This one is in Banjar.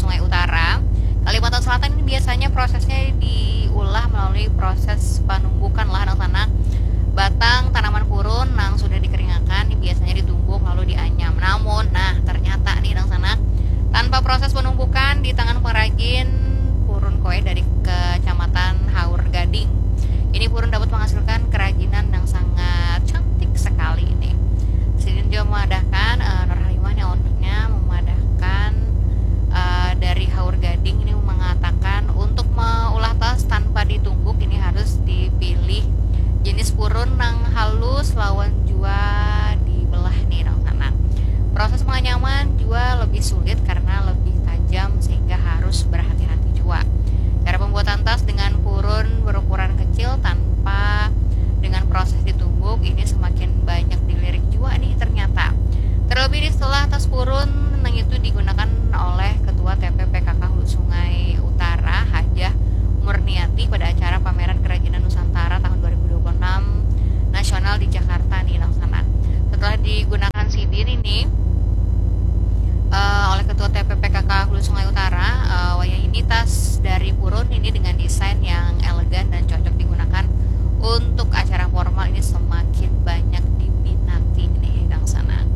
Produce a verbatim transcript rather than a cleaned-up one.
Sungai Utara, Kalimantan Selatan ini biasanya prosesnya diulah melalui proses panumbukan lah, nang sanak. Batang tanaman purun nang sudah dikeringakan ini biasanya ditumbuk lalu dianyam. Namun, nah, ternyata nih, nang sanak, tanpa proses penumbukan di tangan pengrajin purun kue dari Kecamatan Haur Gading, ini purun dapat menghasilkan kerajinan yang sangat cantik sekali ini. Sidin juga memadahkan, eh, Nur Halimah nih, ownernya, memadahkan, eh, dari Haur Gading ini mengatakan untuk meulah tas tanpa ditumbuk ini harus dipilih jenis purun nang halus lawan jua dibelah nih, nang sanak. Proses penganyaman jua lebih sulit karena lebih tajam sehingga harus berhati-hati jua. Cara pembuatan tas dengan purun berukuran kecil tanpa dengan proses ditumbuk ini semakin banyak dilirik jua nih ternyata. Terlebih setelah tas purun nang itu digunakan oleh Ketua T P P K K Hulu Sungai Utara, Hajah Murniati, pada acara pameran kerajinan Nusantara tahun dua ribu dua puluh enam nasional di Jakarta nih, nang sanak. Setelah digunakan sidin ini, eh, oleh Ketua T P P K K Hulu Sungai Utara, eh, wayah ini tas dari purun ini dengan desain yang elegan dan cocok digunakan untuk acara formal ini semakin banyak diminati nih, nang sanak.